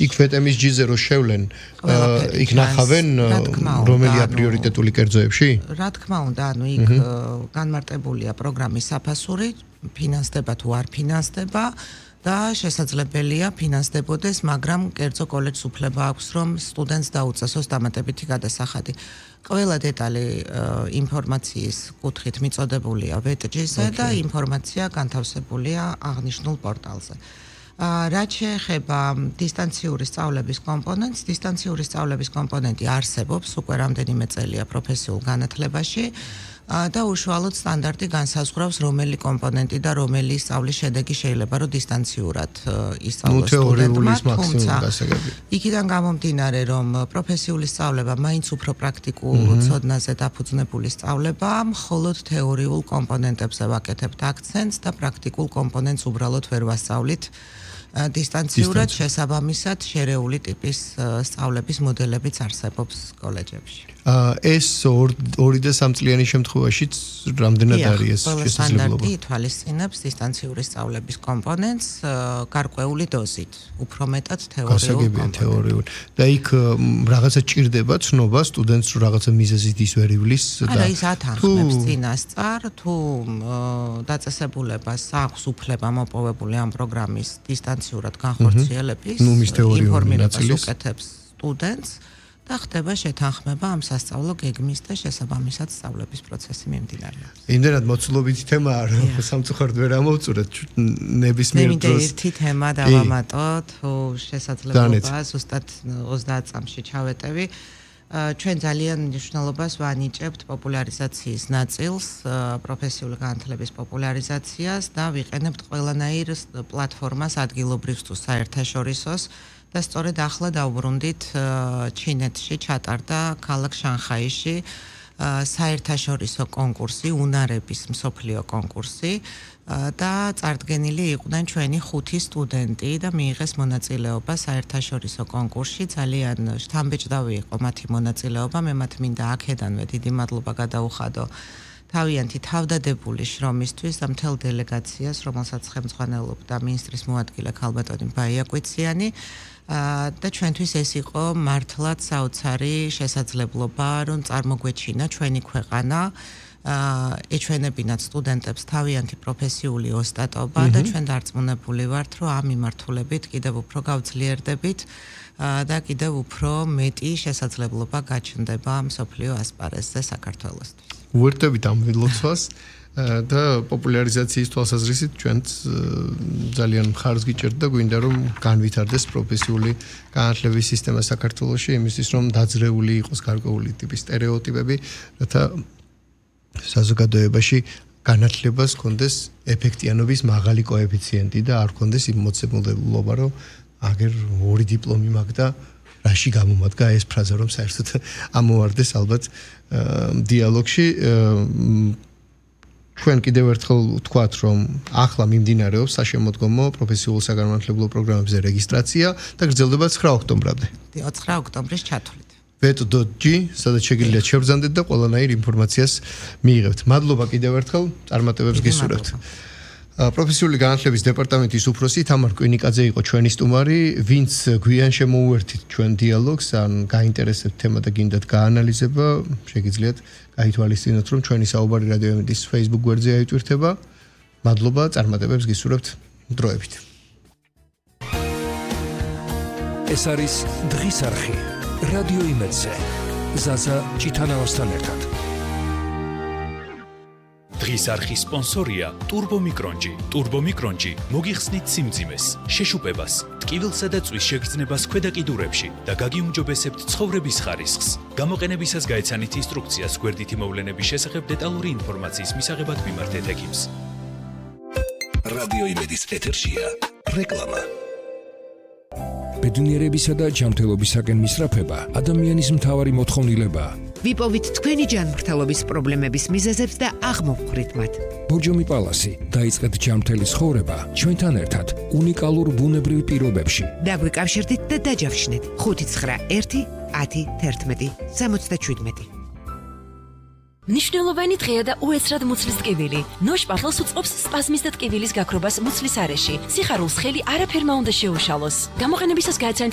იქ ვეტემის ჯიზე რო შევლენ, იქ ნახავენ რომელია პრიორიტეტული კერძოებში? რა თქმა უნდა, ანუ იქ განმარტებულია პროგრამის საფასური, ფინანსდება თუ არ ფინანსდება და შესაძლებელია ფინანსდებოდეს, მაგრამ კერძო კოლეჯს უფლება აქვს, რომ სტუდენტს დაუწესოს დამატებითი გადასახადი. ყველა დეტალი ინფორმაციის კუთხით მიწოდებულია ვეტჯიზე და ინფორმაცია განთავსებულია აღნიშნულ პორტალზე. რაც შეეხება დისტანციური სწავლების კომპონენტს, დისტანციური სწავლების კომპონენტი არსებობს უკვე რამდენიმე წელია პროფესიულ განათლებაში და უშუალოდ სტანდარტი განსაზღვრავს რომელი კომპონენტი და რომელი სწავლის შედეგი შეიძლება რომ დისტანციურად ისწავლოს სტუდენტმა, თუმცა იქიდან გამომდინარე რომ პროფესიული სწავლება მაინც უფრო პრაქტიკულ ცოდნაზე დაფუძნებული სწავლებაა, მხოლოდ თეორიულ კომპონენტებზე ვაკეთებთ აქცენტს და პრაქტიკულ კომპონენტს უბრალოდ ვერ ვასწავლით დისტანციურად, შესაბამისად შერეული ტიპის სწავლების მოდელებიც არსებობს კოლეჯებში. ეს 2 და 3 წლიანი შემთხვევაშიც რამდენად არის ეს შესაძლებლობა? სტანდარტი ითვალისწინებს დისტანციური სწავლების კომპონენტს გარკვეული დოზით, უფრო მეტად თეორიულ თეორიულ. და იქ რაღაცა ჭირდება ცნობა სტუდენტს რომ რაღაცა მიზეზით ის ვერ ივლის და არა, ის ათანხმებს წინასწარ, თუ დაწესებულებას აქვს უფლება მოპოვებული ამ პროგრამის დისტანციურად განხორციელების ინფორმირებას უკეთებს სტუდენტს და ხდება შეთანხმება ამ სასწავლო გეგმის და შესაბამისად სწავლების პროცესი მიმდინარეობს. იმდენად მოცულობითი თემაა, რომ სამწუხაროდ ვერ ამოვწურეთ ნებისმიერ დროს. ერთი თემა დავამატოთ, შესაძლებლობა ზუსტად 30 წამში ჩავეტევი. ჩვენ ძალიან მნიშვნელობას ვანიჭებთ პოპულარიზაციის ნაწილს, პროფესიული განათლების პოპულარიზაციას და ვიყენებთ ყველანაირ პლატფორმას ადგილობრივ თუ საერთაშორისოს და სწორედ ახლა დავბრუნდით ჩინეთში ჩატარდა ქალაქ შანხაიში საერთაშორისო კონკურსი, უნარების მსოფლიო კონკურსი და წარდგენილი იყვნენ ჩვენი 5 სტუდენტი და მიიღეს მონაწილეობა საერთაშორისო კონკურსში. ძალიან შთამბეჭდავი იყო მათი მონაწილეობა, მე მათ მინდა აქედანვე დიდი მადლობა გადაუხადო თავიანთი თავდადებული შრომისთვის და მთელ დელეგაციას, რომელსაც ხელმძღვანელობდა მინისტრის მოადგილე ქალბატონი ბაია კვიციანი. და ჩვენთვის ეს იყო მართლაც საოცარი შესაძლებლობა, რომ წარმოგვეჩინა ჩვენი ქვეყანა, ეჩვენებინათ სტუდენტებს თავიანთი პროფესიული ოსტატობა და ჩვენ დარწმუნებული ვართ, რომ ამ მიმართულებით კიდევ უფრო გავძლიერდებით და კიდევ უფრო მეტი შესაძლებლობა გაჩნდება მსოფლიო ასპარეზზე საქართველოსთვის. უერთდებით ამ ვილოცვას და პოპულარიზაციის თვალსაზრისით ჩვენც ძალიან მხარს გიჭერთ და გვინდა რომ განვითარდეს პროფესიული განათლების სისტემა საქართველოში, იმისთვის რომ დაძრეული იყოს გარკვეული ტიპის სტერეოტიპები, რათა საზოგადოებაში განათლებას ჰქონდეს ეფექტიანობის მაღალი კოეფიციენტი და არ ჰქონდეს იმ მოცემულობა, რომ აგერ 2 დიპლომი მაქვს და რაში გამომადგა ეს ფრაზა, რომ საერთოდ ამოვარდეს ალბათ დიალოგში. ჩვენ კიდევ ერთხელ ვთქვათ, რომ ახლა მიმდინარეობს საშემოდგომო პროფესიულ საგანმანათლებლო პროგრამებზე რეგისტრაცია და გრძელდება 9 ოქტომბრამდე. 9 ოქტომბრის ჩათვლით. vet.g, სადაც შეგიძლიათ შევბრძანდეთ და ყველანაირ ინფორმაციას მიიღებთ. მადლობა კიდევ ერთხელ, წარმატებებს გისურვებთ. პროფესიული განათლების დეპარტამენტის უფროსი თამარ კვინიკაძე იყო ჩვენი სტუმარი, ვინც გვიან შემოუერთით ჩვენ დიალოგს, ან გაინტერესებთ თემა და გინდათ გაანალიზება, შეგიძლიათ გაითვალისწინოთ, რომ ჩვენი საუბარი რადიო ემედის Facebook გვერდზე აიტვირთება. მადლობა, წარმატებებს გისურვებთ, დროებით. ეს არის დღის არხი რადიო ემედზე. ზაზა ჭიტანავასთან ერთად. დღის არხის სპონსორია Turbo Micronji. Turbo Micronji მოგიხსნით სიმძიმეს, შეშუპებას, ტკივილსა და წვის შეგრძნებას ქვედა კიდურებში და გაგიუმჯობესებთ ცხოვრების ხარისხს. გამოყენებისას გაეცანით ინსტრუქციას გვერდითი მოვლენების შესახებ დეტალური ინფორმაციის მისაღებად მიმართეთ ექიმს. რადიო ემედის ეთერშია რეკლამა. ბედნიერებისა და ჯანმრთელობისაკენ მისწრაფება ადამიანის მთავარი მოთხოვნილებაა. ვიპოვით თქვენი ჯანმრთელობის პრობლემების მიზეზებს და აღმოვხვრით მათ. ბორჯომი პალასი, დაიწყეთ ჯანმრთელი ცხოვრება ჩვენთან ერთად უნიკალურ ბუნებრივ პირობებში. დაგვიკავშირდით და დაჯავშნით 591 10 11 77. ნიშნულოვანი დღეა და უესრად მუცლის ტკივილი. ნოშპახელს უწყობს სპაზმის და ტკივილის გაქრობას მუცლის არეში. სიხარულს ხელი არაფერმა უნდა შეუშალოს. გამოყენებისას გაეცანით